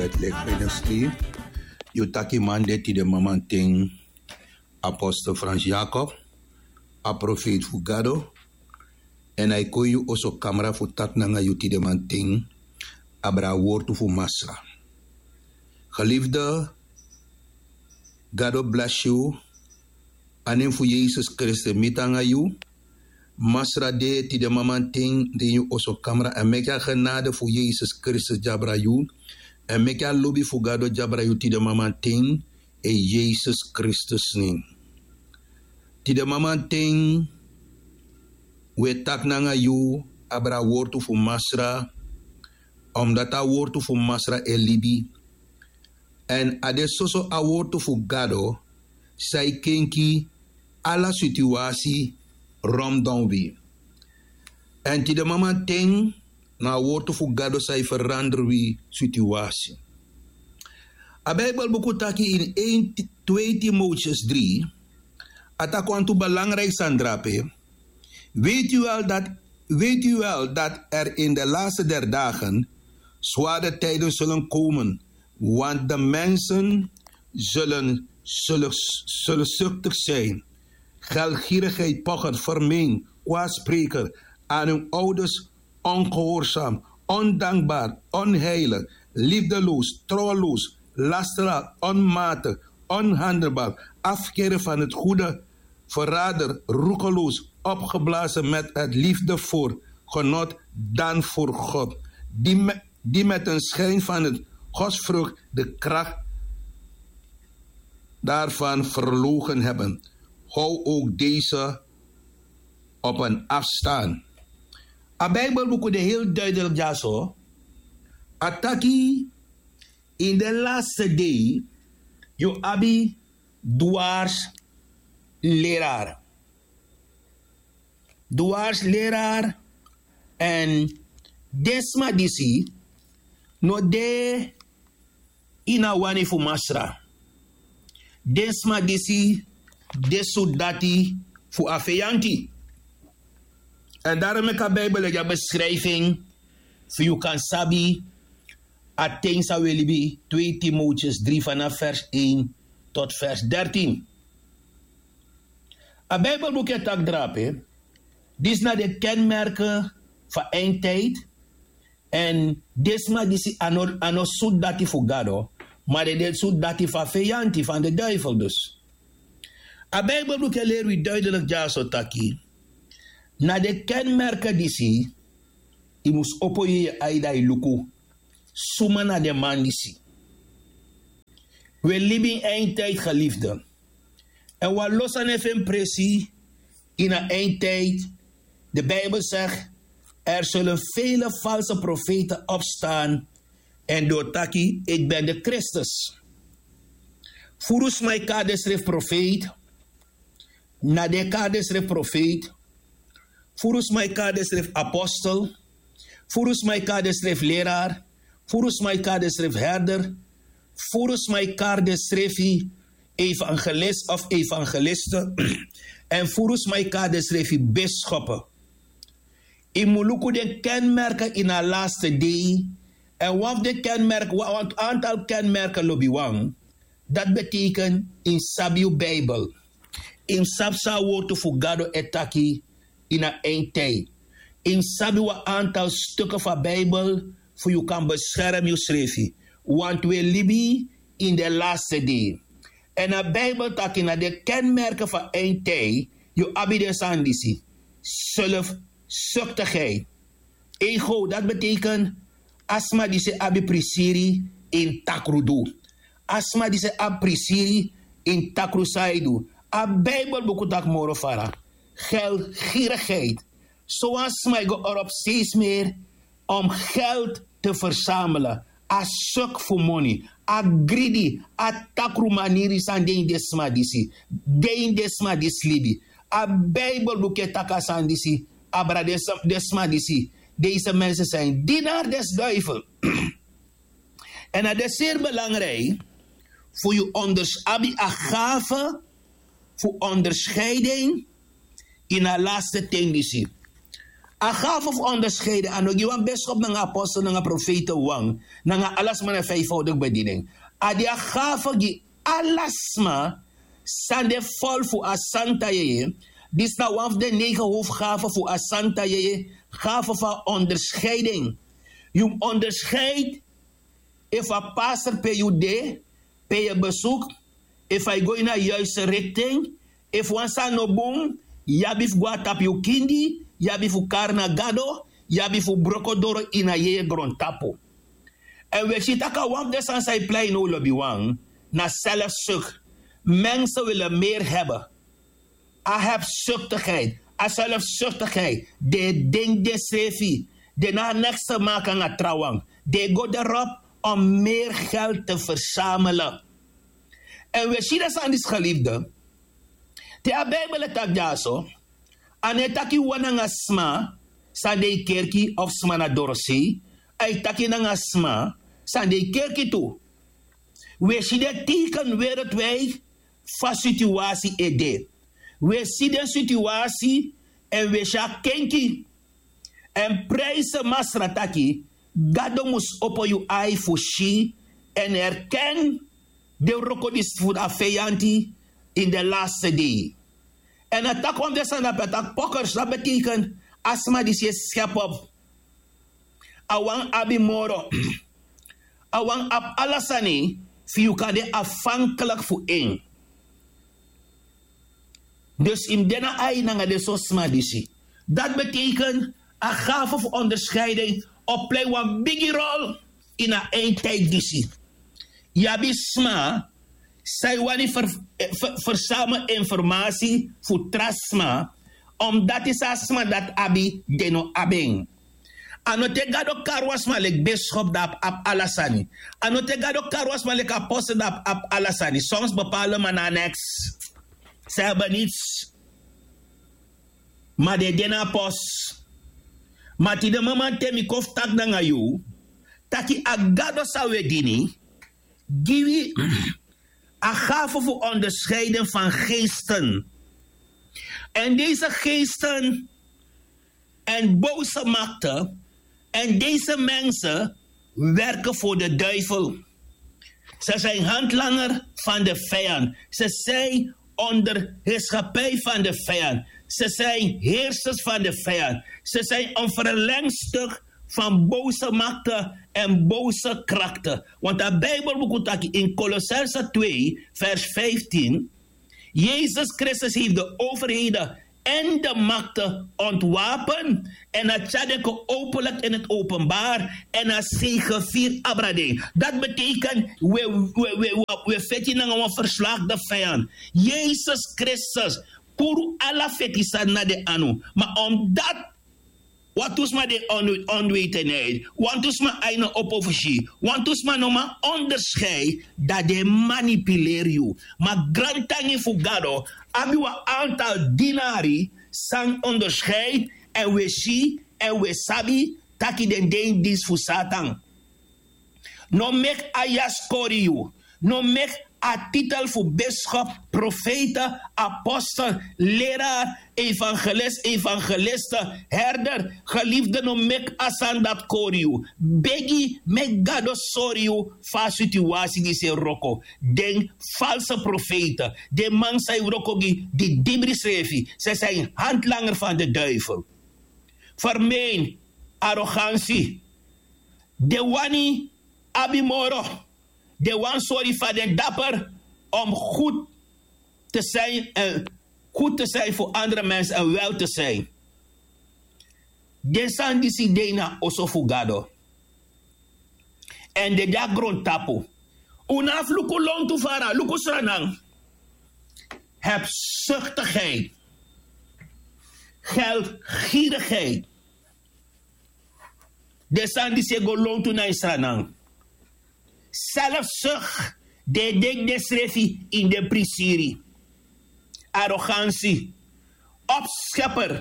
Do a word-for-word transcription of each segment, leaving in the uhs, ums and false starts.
Catholic Ministry. Yu taki man de tide mamanten, apostel Frans Jacob, a profeet fu Gado, en a e kon yu oso kamra fu taki nanga yu tide mamanten abra a wortu fu Masra. Geliefde, Gado bless yu. A nen fu Yesus Kristus mi tan nanga yu. Masra de tide mamanten den yu oso kamra, en meki a genade fu Yesus Kristus di abra yu, en meki a lobi fu Gado di abra yu tide mamanten, en Yesus Kristus nen. Tide mamanten, we taki nanga yu abra a wortu fu Masra, omdat a wortu fu Masra e libi. En a de soso a wortu fu Gado san e kenki ala situasi rondom wi. En tide mamanten, na a wortu fu Gado san e ferandra wi situasi. A Bijbelbuku taki in één Ti-, twee Timotheus drie, a taki wantu belangrijk sani drape. Weet u wel dat, weet u wel dat er in de laatste der dagen zware tijden zullen komen, want de mensen zullen, zullen, zullen zuchtig zijn, geldgierigheid, pocher, vermeen, kwaadspreker, aan hun ouders ongehoorzaam, ondankbaar, onheilig, liefdeloos, trouweloos, lasteraar, onmatig, onhandelbaar, afkeren van het goede, verrader, roekeloos, opgeblazen met het liefde voor genot dan voor God, die me-, die met een schijn van het godsvrucht de kracht daarvan verlogen hebben. Hou ook deze op een afstand. A Bijbelbuku de heel duidelijk dyaso. A taki in de laatste dei yu abi dwars leraar. Dwars leraar, en den sma disi no de ini a wani fu Masra. Den sma disi de sudati fu a feyanti. En daarom meki a Bijbel e gi a beschrijving fu yu kan sabi a ten san we libi, twee Timotheus drie vanaf vers één tot vers dertien. A Bijbelbuku e taki drape, disi na de kenmerken fu a eindtijd. En den sma disi a no, a no sudati fu Gado, maar den de sudati fu a feyanti, van de duivel dus. A Bijbelbuku e leri wi duidelijk dyaso taki na de kenmerken disi, yu mus opo yu ai dan yu luku suma na den man disi. We libi in eindtijd, geliefde. En wan lo sani e feni presi ini a eindtijd. De Bijbel zegt, er zullen vele valse profeten opstaan en doortaki, ik ben de Christus. Furu sma e kari densrefi profeet, na den e kari densrefi profeet. Furu sma e kari densrefi apostel. Furu sma e kari densrefi leraar. Furu sma e kari densrefi herder. Furu sma e kari densrefi evangelist of evangeliste. En furu sma e kari densrefi bischoppen. Yu mus luku den kenmerken ini a laatste dei. En wan fu den kenmerken, wan, wan aantal kenmerken lobiwan. Dat betekent yu mus sabi yu Bijbel. Yu mus sabi san a wortu fu Gado e taki ini a eindtijd. Yu mus sabi wan aantal stukken fu a Bijbel fu yu kan bescherm yusrefi. Want we libi in de laatste dei. En a Bijbel taki na de kenmerken fu a eindtijd, yu abi den sani disi. Zelfzuchtigheid. Ego, dat betekent a sma disi abi prisiri ini takru du. A sma disi abi prisiri ini takru san yu du. A Bijbelbuku taki moro fara. Geldgierigheid. Sowan sma e go erop steeds meer om geld te verzamelen. A suk fu moni, a gridi, a takru maniri san de ini den sma disi. De ini den sma disi libi. A Bijbelbuku e taki a sani disi abra den s-, den sma disi. Deze mensen zijn dienaar des duivel. En na de zeer belangrijk fu yu onders-, abi a gave fu onderscheiding ini a laatste ten disi. A gafe fu onderscheiden a no gi wan biskop nanga apostel nanga profeite wan nanga ala sma na vijfvoudig bediening. A de a gafe gi ala sma san de vol fu a santa yeye. Disi na wan fu den negen hoofgafe fu a santa yeye. Gafe fu a onderscheiding. Yu mus onderscheid efu a paster pe yu de, pe yu e besuk, efu a e go ini a yuiste rikting, efu wan sani no bun, yu abi fu go na tapu yu kindi, yu abi fu kari na gado, yu abi fu broko doro ini a yeye grontapu. Èn wi e si tak' a wan fu den sani san e plei now lobiwan na selfsuk. Mense wili meri hebe. A hebsuktigheid, a selfsuktigheid, den e denki densrefi, den no abi neks te maki nanga trawan, den e go derop om meri geld te fersamele. Èn wi e si den sani disi gelifde, te a bibel e taki dyaso, a no e taki wan nanga sma san de ini kerki of sma na dorosei. A e taki nanga sma san de ini kerki tu. Wi e si den teiken wereldwid fa situasi e de. Wi e si den situasi èn wi e si a kenki. Èn prijse masra taki, gado mus opo yu ai fu si èn erken den wroko disi fu a feyanti ini den laste dei. Èn a taki wan fu den sani dape a taki pokers dati beteiken a sma disi e skepop. A wani abi moro. A wani abi ala sani fu yu kan de afhanklik fu en. Dus yu mus de na ai nanga den sortu sma disi. Dati beteiken a gafe fu onderscheiding o plei wan bigi rol ini a eindtidi disi. Yu abi sma san e wani fersamel informasi fu tra sma, omdati san a sma dati abi den no abi en. A no te gado kari wan sma leki biskop dati abi ala sani. A no te gado kari wan sma leki apostel dati abi ala sani. Songs bepale man na neks. San e benits. Ma den e de na a pos. Ma tide maman te mi kon fu taki nanga yu taki a gado san wi e dini gi wi a gafe fu onderscheiden fan geesten. En deze geesten en boze makte en deze mense werken voor de duivel. Ze zijn handlanger van de vijand. Ze zijn onderheerschappij van de vijand. Ze zijn heersers van de vijand. Ze zijn een verlengstuk van boze makte en boze krakte. Want a bibel buku taki in Kolossense twee vers vijftien, Jezus Kristus heeft de overheden en de makte ontwapen en a tyari den kon openlik in het openbaar en a zegevier abra den. Dat betekent we feti nanga wan verslaagde vijand. Jezus Kristus puru ala feti sani na den anu. Ma omdat wantu sma de onweten niti wantu sma aina opo fu si wantu sma no man onderscheid, dan den manipuleri yu. Ma grantangi fu gado abi wan antal dinari san onderscheid èn wi e si èn wi e sabi taki den de ini disi fu satan. No meki a yasi kori yu. No meki a titel fu biskop, profeite, apostel, leraar, evangelis, evangeliste, herder, geliefde, no meki a sani dati kori yu. Begi meki gado sori yu fu a situasi disi e wroko. Den false profeite, den man san e wroko gi didibri srefi, se san e handlanger fan de duivel. Fermein, arogansi, den wani abi moro. Den wani sori fa den daper om goed te zijn en goed te zijn fu andere mensi en wel te zijn. Den sani disi de ini a oso fu gado. Èn den de na grontapu. Un no abi fu luku lontu fara luku sranan. Hebsuktigheid, geldgierigheid. Den sani disi e go lontu na yu sranan. Selfsuk, den e denki densrefi ini den prisiri. Arogansi, opskeper.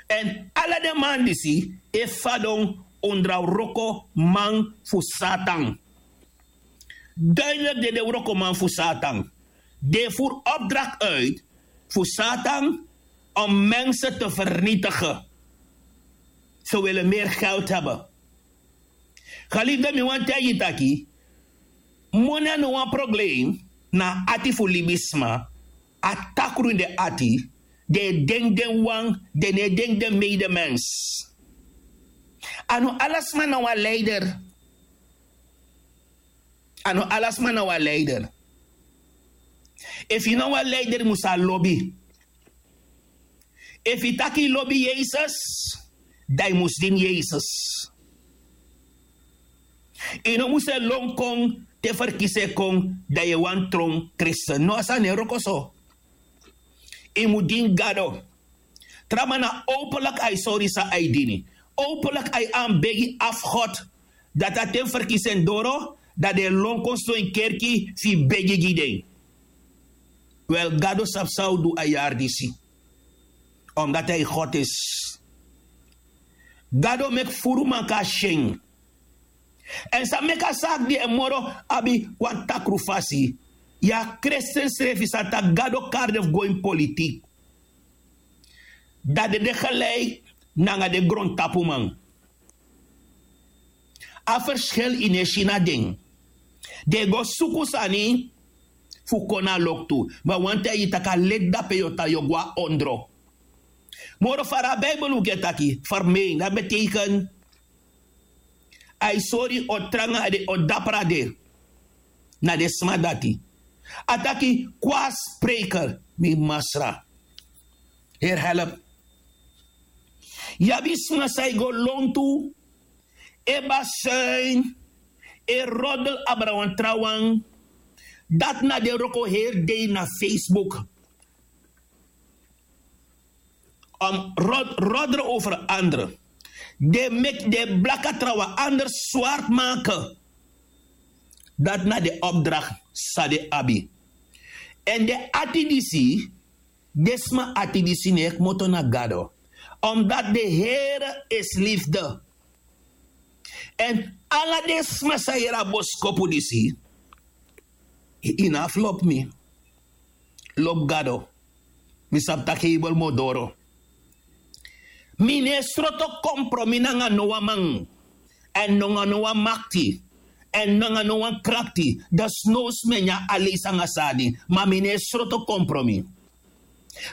Èn ala den man disi e fadon ondra wroko man fu satan. Duidelik den de wrokoman fu satan. Den e furu opdrakt uit fu satan om mense te fernitigen. Te wele meri geld heben. Geliefde, mi wani taigi yu taki moni a no wan probleem. Na a ati fu libisma, a takru ini den ati. Den e denki den wan, den no e denki den medemens. A no ala sma na wan leider. A no ala sma na wan leider. Efu yu na wan leider mus a lobi. Efu yu taki yu lobi yesus, dan yu mus dini yesus. Yu no mus e lon kon te ferkisi e kon, dan yu e wani tron kristen no a sani e wroko so. Yu mus dini gado. Traman na openlik a e sori san a e dini. Openlik a e anbegi afgod. Dati a ten ferkisi en doro, dan den e lon kon sidon ini kerki fu yu begi gi den. Wel, gado sabi san a o du a yari disi. Omdati a e god isi. Gado meki furu man kon na syen. Èn san meki a saki di e moro abi wan takru fasi, yu a kristen srefi sa taki gado kari den fu go ini politik. Dan den de geleik nanga den grontapuman. A ferskil yu no e si na den. Den e go suku sani fu kon na loktu. Ma wani taigi yu tak' a leti dape yu o tan yu o go na ondro. Moro fara a bibel un gi e taki fermein dati beteiken. A e sori o tranga a de o dapra de. Na den sma dati. A taki kwaspreker mi masra. Heri help. Yu abi sma san e go lontu, e basuin, e rodel abra wan trawan. Dati na den wroko heri dei na facebook. Om rod rodre over andere. Den meki den blaka trawan anders swart maken. Dati na den opdracht san den abi. Èn den ati disi, den sma ati disi no e kmoto na gado. Omdati de here isi lifde. Èn ala den sma san yere a boskopu disi, yu no abi fu lobi mi. Lobi gado. Mi sabi tak' heibel mus doro. Mi no e sroto kompromi nanga no wan man, èn nanga no wan makti, èn nanga no wan krakti. Dan snow sma e nyan aleisi nanga sani. Ma mi no e sroto kompromi.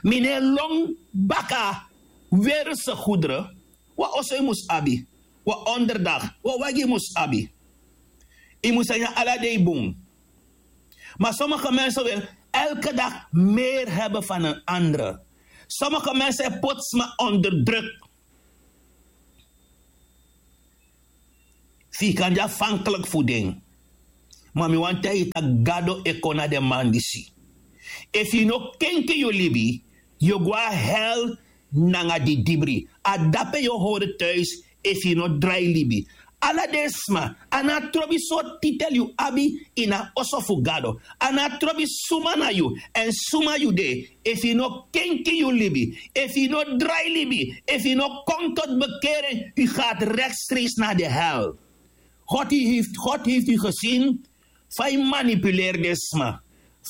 Mi no e lon baka. Werelse gudre. Wan oso yu mus abi, wan onderdak, wan wagi yu mus abi. Yu mus a nyan ala dei bun. Ma somige mense wil elke dag meri heben fan en andere. Somige mense e poti sma onder druk. Fu yu kan de afhankelik fu den. Ma mi wani taigi yu tak' gado e kon na den man disi. Efu yu no kenki yu libi, yu o go na hel. Nanga didibri a dape yu o hori tuis. Efu yu no drai libi, ala den sma, a no a trobi sortu titel yu abi ini a oso fu gado. A no a trobi suma na yu, èn suma yu de. Efu yu no kenki yu libi, efu yu no drai libi, efu yu no kon toti bekeren, yu gati rekstreisi na den hel. God heifti yu gesin fa yu manipuleri den sma,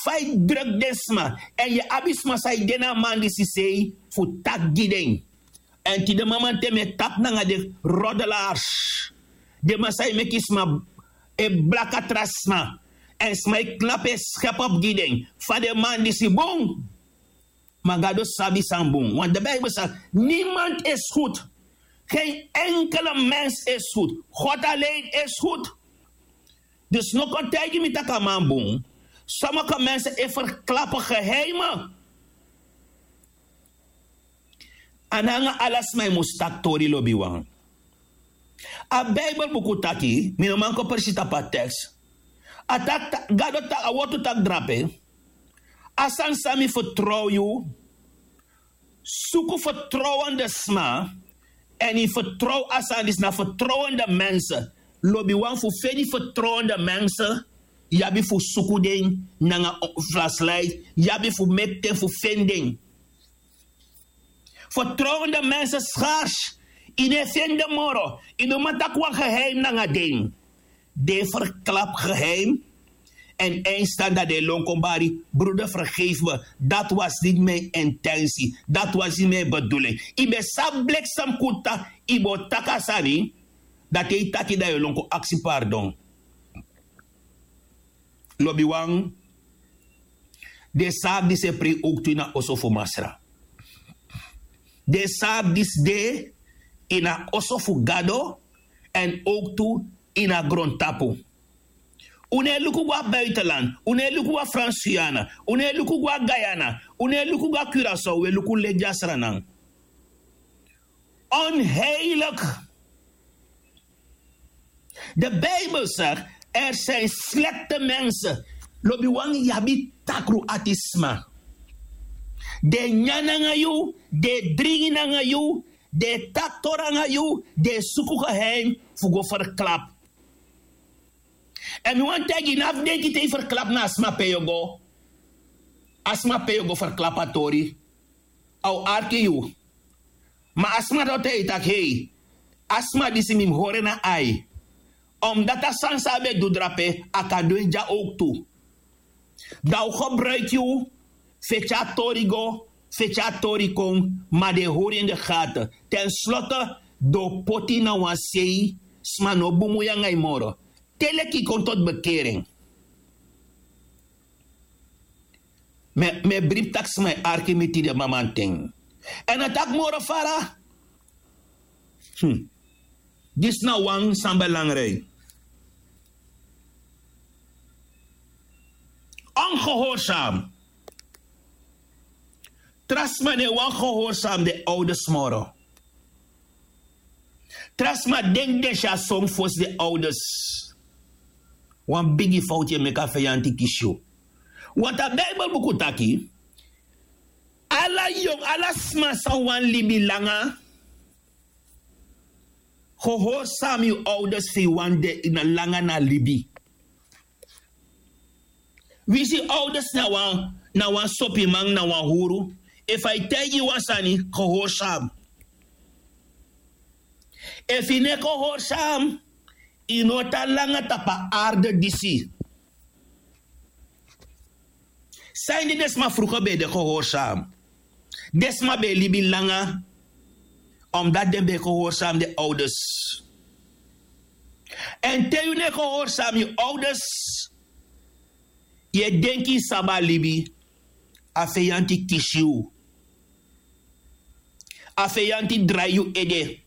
fa yu druk den sma, èn yu abi sma san yu de na a man disi sei fu taki gi den. Èn tide mamanten mi e tapu nanga den rodelars. Den man san e meki sma e blaka tra sma, èn sma e knapu e skepu opu gi den. Fa den man disi bun. Ma gado sabi san bun want de bibel saki, nimand is goed. Gen enkele mens is goed. God alein is goed. Dus no kon taigi mi tak' a man bun. Somige mense e ferklapu geheime. A nanga ala sma yu mus taki tori lobiwan. A bibelbuku taki mi no man kon presi tapu a teks. A taki gado taki a wortu taki drape. A sani san mi fertrow yu. Suku fertrowende sma. Èn yu fertrow a sani disi na fertrowende mense. Lobiwan fu feni fertrowende mense. Yu abi fu suku den nanga flaslait. Yu abi fu meki ten fu feni den. Fertrouwende mensen schars. Yu no e feni den moro. Yu no man taki wan geheim nanga den. Den e ferklapu geheim. En eindstand dat de lon kon bari, broeder, vergeef me. Dat was niet mijn intentie. Dat was niet mijn bedoeling. I ben sabi bliksem kuta, i bo taki a sani, dat e taki dat yu lon kon aksi pardon. Lobiwan, den saak disi e prei owktu ini a oso fu Masra. Den saak disi de ini a oso fu Gado, èn owktu ini a grontapu. Un no e luku go na buitenland, un no e luku go na Frans-Guyana, un no e luku go na Guyana, un no e luku go na Curaçao, un e luku leti a Sranan. Onheilig. De Bijbel zegt, er zijn slechte mensen. Lobiwan, yu abi takru ati sma. Den nyan nanga yu, den dringi nanga yu, den taki tori nanga yu, den suku geheim fu go verklap. Èn mi wani taigi yu, no abi denki te yu verklap na a sma pe yu o go. A sma pe yu o go verklap a tori, a o arki yu. Ma a sma dati o taigi yu taki, hei, a sma disi mi mus hori en na ai. Omdati a sani san a ben du drape, a kan du en dya owktu. Dan a o gebruiki yu fu e tyari tori go, fu e tyari tori kon, ma den e hori en de gate. Ten slotte, den o poti yu na wan sei, sma no o bumui nanga yu moro. Te leki yu kon tot bekering. Mi e bribi taki sma e arki mi tide mamanten. Èn a taki moro fara. Hmm. Disi na wan san belangrijk. Ongehoorzaam. Tra sma no e wani gehoorzaam den ouders moro. Tra sma denki den si a song fosi den ouders. Wan bigi fowtu yu e meki, a feyanti kisi yu. Want a Bijbelbuku taki, ala yongu, ala sma san wani libi langa, gehoorzaam yu ouders, fu yu wani de langa na libi. Wi si, ouders na wan, na wan sopiman, na wan huru. Efu a e taigi yu wan sani, gehoorzaam. Efu yu no e gehoorzaam, yu no o tan langa tapu a aarde disi. Sanede den sma vroeger ben e de gehoorzaam. Den sma ben e libi langa, omdat den ben e gehoorzaam den ouders. Èn te yu no e gehoorzaam yu ouders, yu e denki yu sabi a libi, a feyanti kisi yu. A feyanti drai yu ede.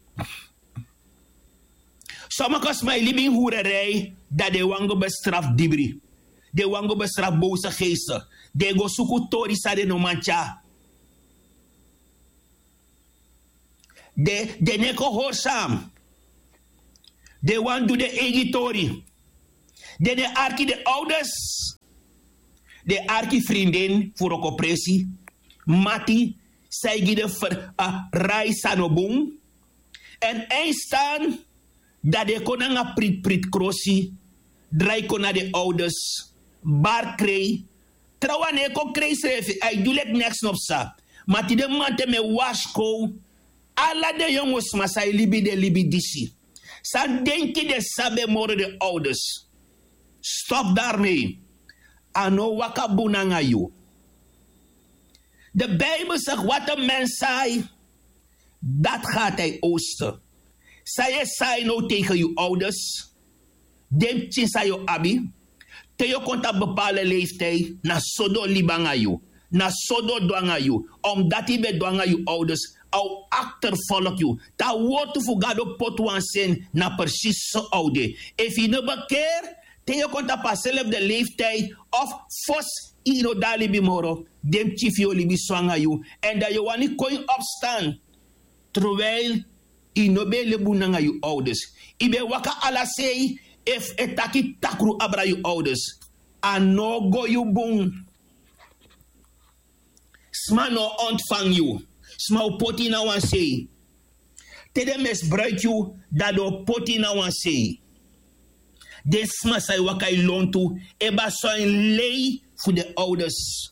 Sommige sma e libi ini hurerij, dan den wani go bestrafu dibri. Den wani go bestrafu boze geesten. Den e go suku tori san den no man tyari. Den, den no e gehoorzaam. Den wani du den eigi tori. Den no e arki den ouders. Den e arki vriendin fu wrokopresi, mati, san e gi den fu, a, rai san no bun. Èn eindstand, dan den e kon nanga pritprit krosi, drai kon na den ouders, bari krei. Trawan no e kon krei srefi, a e du leki neks no psa. Ma tide mamanten mi e warskow ala den yongu sma san e libi den libi disi, san denki den sabi en moro den ouders. Stop daarmee. A no o waka bun nanga yu. De Bijbel zegt: wat een mens zaait, dat gaat hij oogsten. San yu e sai now tegen yu ouders, den pikin san yu o abi, te yu o kon tapu bepaalde leeftijd, na so den o libi nanga yu, na so den o du nanga yu, omdat yu ben du nanga yu ouders, a o achtervolg yu. Te a wortu fu Gado poti wan sen, na precies so a o de. Efu yu no bekeer, te yu o kon tapu a zelfde leeftijd of fosi yu no de na libi moro, den pikin fu yu o libi so nanga yu. Èn dan yu o wani kon yu opstand, terwijl yu no ben e libi bun nanga yu ouders. Yu ben e waka ala sei, efu e taki takru abra yu ouders, a no o go yu bun. Sma no o ontfangi yu. Sma o poti yu na wan sei. Te den misbruiki yu, dan den o poti yu na wan sei. Den sma san e waka ini lontu e basi san ini lei fu den ouders.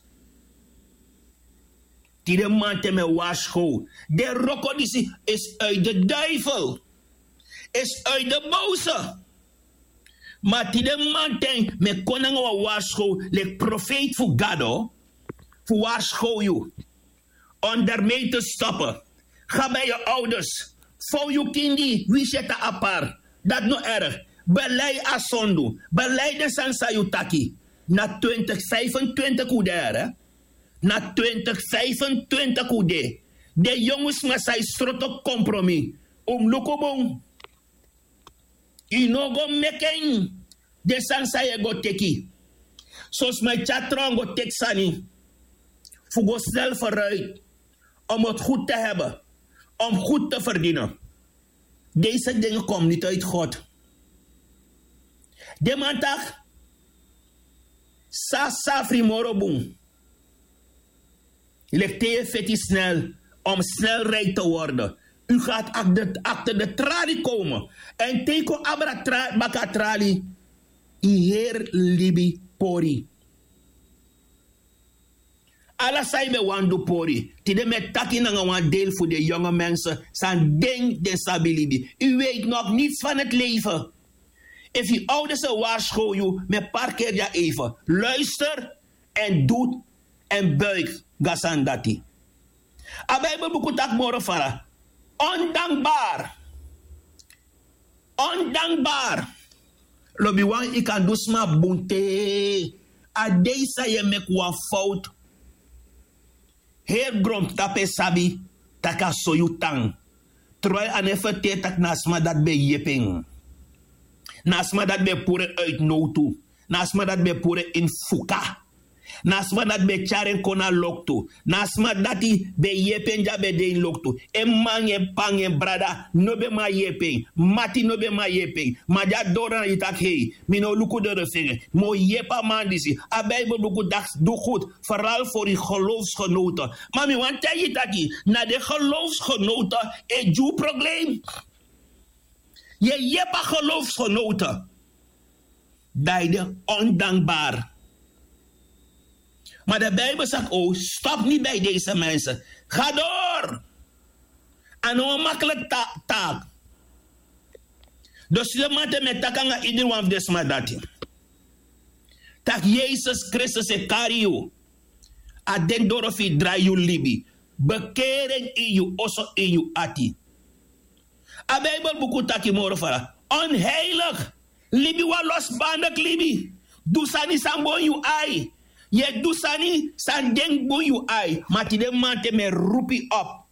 Tide mamanten mi e warskow. Den wroko disi is uit de duivel. Is uit de boze. Ma tide manten mi e kon nanga wan warskow leki profeiti fu gado, fu warskow yu. Ondermei te stoppen. Ga bij yu ouders. Fow yu kindi wi seta apart. Dati no erg. Belei a sondu. Belei den sani san yu taki. Na twintig vijfentwintig un de here. Na twintig vijfentwintig un de. Den yongu sma san yu sroto kompromi. Un mus luku bun. Yu no go meki en. Den sani san yu e go teki. Son sma e tyari tron go teki sani fu go snel feruit. Om het goed te hebben. Om goed te verdinen. Deze dingen kom niet uit god. Den man taki, san safri moro bun. Leki te yu e feti snel om snel rijk te worden. U gaat achter de trali komen. En te yu kon abra baka trali, yu heri libi pori. Ala san yu ben wani du pori. Tide mi e taki nanga wan deel fu den yonge mensen san den den sabi libi. U weet nog niets van het leven. Efu yu ouders e warskow yu, mi e parkeri yu a even. Luister en du en buik. Ga sani dati. A bibelbuku taki moro fara. Ondankbar. Ondankbar. Lobiwan, yu kan du sma bun te. A dei san yu e meki wan fowtu, heri grontapu e sabi tak' a so yu tan. Troi a no e ferteri tak' na a sma dati ben yepi en. Na a sma dati ben puru en uitnowtu. Na a sma dati ben puru en ini fuka. Na a sma dati ben tyari en kon na loktu. Na a sma dati ben yepi en di a ben de ini loktu. En m'ma nanga en p'pa nanga en brada no ben man yepi en. Mati no ben man yepi en. Ma di a doro na yu taki hei, mi no o luku doro fu en. Mi o yepi a man disi. A bibelbuku taki du gudu. Feral fori gelowfsgenote. Ma mi wani taigi yu taki na den gelowfsgenote e gi un problem. Yu e yepi a gelowfsgenote. Dan yu de ondankbar. Ma de bibel saki o stop ni bij deze mensen. Ga doro. A no wan makliki taak. Dus yu de man te mi e taki nanga idriwan fu den sma dati, tak' yesus kristus e kari yu. A den doro fu yu drai yu libi. Bekering ini yu oso ini yu ati. A bibelbuku taki moro fara. Onheilig. Libi wan losbandik libi. Du sani san bun yu ai. Yu e du sani san denki bun yu ai. Ma tide manten mi e rupu yu op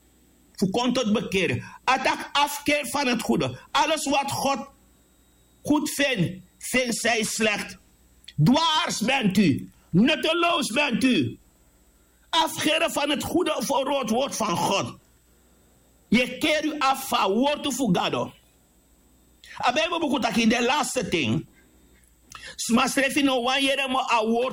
fu kon toti bekeri. A taki afkeri fan heti gude. Ales wati god gud feni feni san yu slekti. Dwars benti. Nutelows benti. Afgere fan heti gude fu a rotword fan god. Yu e keri yu afu fu a wortu fu gado. A bibelbuku taki den laste ten. Sma srefi no wani yere moro a wortu.